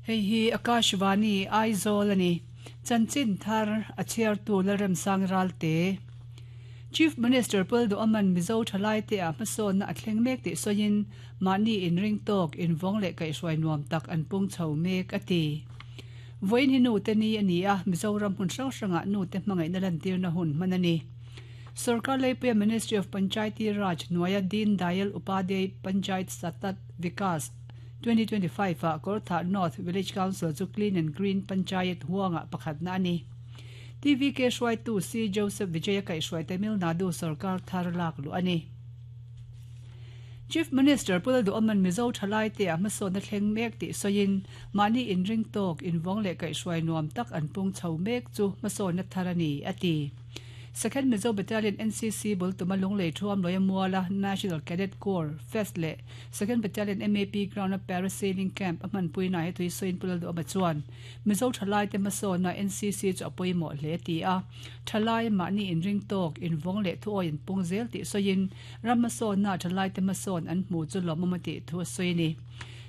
Hei hi Akashvani, Aizawl a ni. Chanchin thar a chhiartu Lalremsang Ralte. Chief Minister Paul Duaman Mizo thalaite ah hmasawnna a thleng mek tih sawiin mahni inring tawk, invawng leh kaihhruai nuam tak an pung chho mek a ti. Vawiin hi nute ni a ni a, Mizoram hmun hrang hrangah nute hmangaihna lantirna hun hman a ni. Sorkar Leipuia Ministry of Panchayati Raj hnuaia Deen Dayal Upadhyay Panchayat Satat Vikas 2025 ah Kawrthah North Village Council chu Clean and Green Panchayat huangah pakhatna a ni. TVK hruaitu C Joseph Vijaya kaihhruai Tamil Nadu sorkar thar lak luh a ni. Chief Minister Pu Lalduhawman Mizo thalaite ah hmasawnna thleng mek tih sawiin mahni inring tawk, invawng leh kaihhruai nuam tak an pung chho mek chu hmasawnna thar a ni, a ti. Second Mizo Battalion NCC bul tuma Lunglei Thuam Lawia Muala National Cadet Corps Fest leh Second Battalion MAP Ground-a Parasailing Camp a hmanpuina he tui sawiin Pu Lalduhama chuan Mizo thalaite hmasawnna NCC chu a pawimawh hle ti a. Thalai mahni inring tawk, invawng leh thuawi an pung zel tih sawiin ram hmasawnna thalaite hmasawn an hmu chu lawmawm a tih thu a sawi a ni.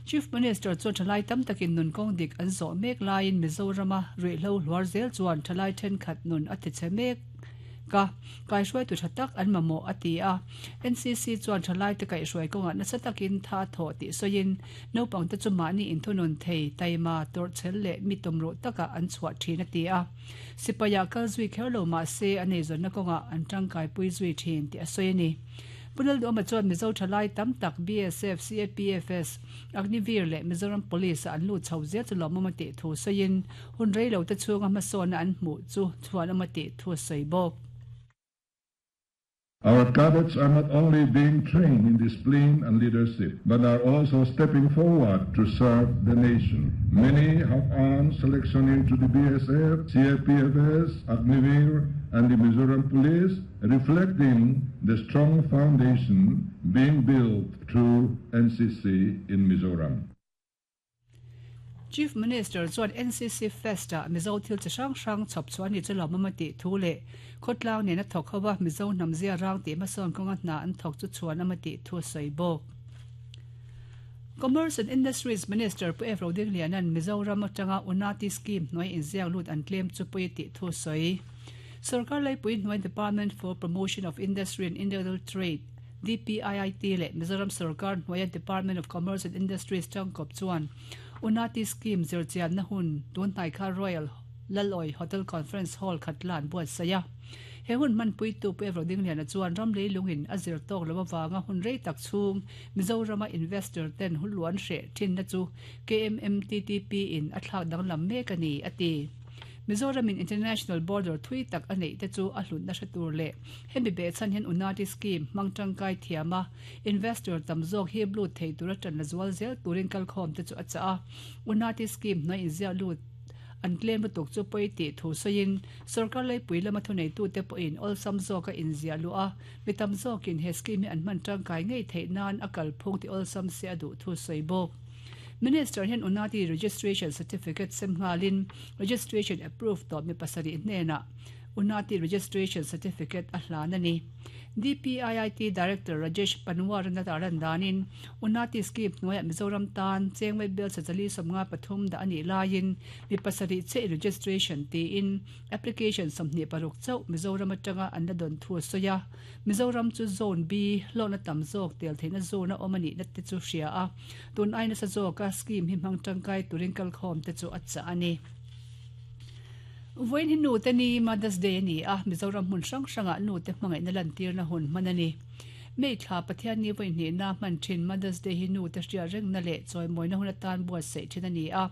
Chief Minister chuan thalai tam takin nun kawng dik an zawh mek laiin Mizorama ruihhlo hluar zel chuan thalai thenkhat nun a tichhe mek a, kaihruaitu tha tak an mamawh a ti a. NCC chuan thalaite kaihhruai kawngah nasa takin tha a thawh tih sawiin naupangte chu mahni inthunun thei, taima, tawrhchhel leh mi tumruh takah an chhuah thin a ti a. Sipaiah kal zui kher lo mahse a neizawnna kawngah an tangkaipui zui thin tih a sawi a ni. Pu Lalduhawma chuan Mizo thalai tam tak BSF, CAPFS, Agniveer leh Mizoram Police ah an lut chho zel chu lawmawm a tih thu sawiin hun rei lo te chhunga hmasawnna an hmuh chu chhuanawm a tih thu a sawi bawk. Our cadets are not only being trained in discipline and leadership, but are also stepping forward to serve the nation. Many have earned selection into the BSF, CAPFS, Agniveer, and the Mizoram Police, reflecting the strong foundation being built through NCC in Mizoram. Chief Minister chuan NCC Fest-ah Mizo thil chi hrang hrang chhawp chhuah a ni chu lawmawm a tih thu leh khawtlang nena thawk ho a Mizo hnam zia rang tih hmasawn kawnga hna an thawk chu chhuan awm a tih thu a sawi bawk. Commerce and Industries Minister Pu F. Rodingliana'n Mizoram atanga Unati Scheme hnuai inziak lut an tlem chu pawi a tih thu a sawi. Sorkar Laipui hnuai Department for Promotion of Industry and Internal Trade, DPIIT, leh Mizoram sorkar hnuaia Department of Commerce and Industries tangkawp chuan Unati Scheme zirchianna hun tun hnai kha Royal Laloi Hotel Conference Hall khat la an buatsaih a. He hun hmanpuitu Pu Evro Dingliana chuan ram leilungin a zir tawk lo avanga hun rei tak chhung Mizorama investor ten huluan hreh thinna chu KMMTTP in a thlak danglam mek a ni, a ti. Mizoramin international border thui tak a neih te chu a hlutna hre tur leh hemi behchhan hian Unati scheme hmang tangkai thiam a, investor tam zawk hi lut thei tura tan la zual zel turin kalkhawm te chu a chah a. Unati scheme hnuai inziah lut an tlem lutuk chu pawi tih thu sawiin sorkar leipui lama thuneitute pawhin awlsam zawka inziah luh a, mi tam zawkin he scheme hi an hman tangkai ngei theih nan a kalphung ti awlsam se a duh thu sawi bawk. Minister hian Unati Registration Certificate sem nghalin Registration Approved tawh mi pasarih hnenah Unati Registration Certificate a hlan a ni. DPIIT Director Rajesh Panwar a tarlan danin Unati Scheme hnuaiah Mizoram tan chengmei bel sazali 53 dah a nih laiin mi pasarih chiah in registration tiin application 26 chauh Mizoram atanga an la dawn thu a sawi a. Mizoram chu Zone B hlawkna tam zawk tel theihna zone a awm a nihna te chu hria a. Tun ai nasa zawka scheme hi hmang tangkai turin kalkhawm te chu a chah a ni. Vawiin hi nute ni, Mother's Day, a ni a, Mizoram hmun hrang hrangah nute hmangaihna lantirna hun hman a ni. May thla Pathianni vawi hnihna hman thin Mother's Day hi nute hriat rengna leh chawimawina hun atan buatsaih thin a ni a.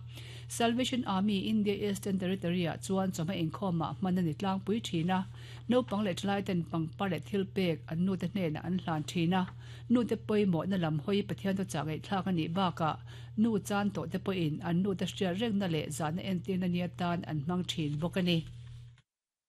Salvation Army India Eastern Territory-ah chuan chawhma inkhawmah hman a ni tlangpui thin a, naupang leh thalaiten pangpar leh thilpek an nute hnenah an hlan thin a. Nute pawimawhna lam hawi Pathian thuchah ngaihthlak a nih bakah nu chan tawhte pawhin an nute hriat rengna leh zahna entirna ni atan an hmang thin bawk a ni.